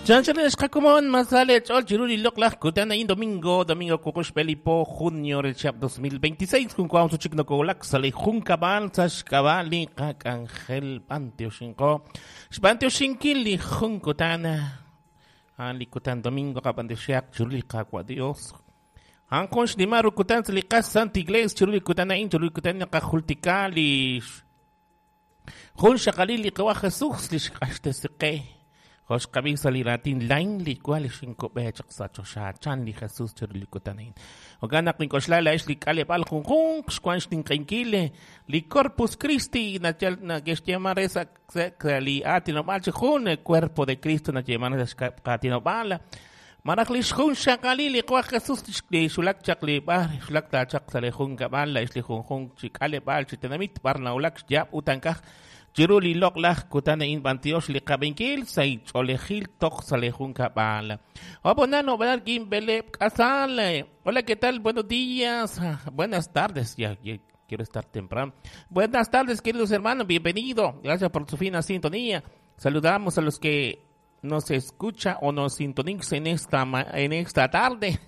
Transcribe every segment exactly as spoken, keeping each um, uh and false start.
Chanchal masale chol chiruli loklaj kutan ayin domingo domingo kukush belipo junio del chap dos mil veintiséis kun kwam suchik no kolak sale junkabal sashkabali kakangel panteoshinko xpanteoshinkili junkutana ali kutan domingo kapanteshiak chiruli kakwa Dios Ankon shnimaru kutan slikas Santa Iglesia chiruli kutan ayin chiruli kutan kajultikali jun shakalili kawa Jesús lishkashtesiqe Josh kabisa li latin lain li cual cinco bechak sacho chan li Jesús chirlikutanin. Ogana kinkoxlala es li kale pal junjun xkuan xtinqenkile li Corpus Christi na na que esa li atinobal jun el cuerpo de Cristo na llamar katinobala. Marajli xjun xakali li kwa Jesús li xulak chakli bar xulak ta chak sale jun kabala es li junjun chikale bal chitenamit barna ulak yap utankaj Chiruli loklaj kutana in bantiosh li kabenkil say cholejil tok salejun kabala. Obonano balargin bele kasale. Hola, ¿qué tal? Buenos días. Buenas tardes. Ya, ya quiero estar temprano. Buenas tardes, queridos hermanos. Bienvenido. Gracias por su fina sintonía. Saludamos a los que nos escucha o nos sintonizan en esta, en esta tarde.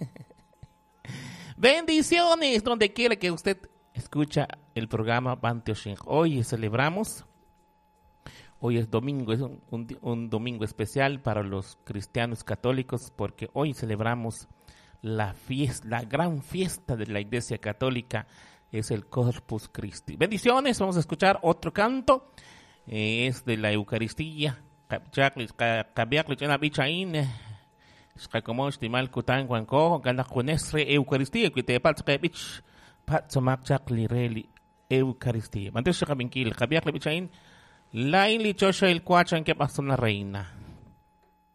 Bendiciones donde quiera que usted escucha el programa Banteoshin. Hoy celebramos. Hoy es domingo, es un, un, un domingo especial para los cristianos católicos porque hoy celebramos la fiesta, la gran fiesta de la Iglesia Católica, es el Corpus Christi. Bendiciones, vamos a escuchar otro canto, eh, es de la Eucaristía. Eucaristía. Lain lichosha el cuachan que pasó la reina.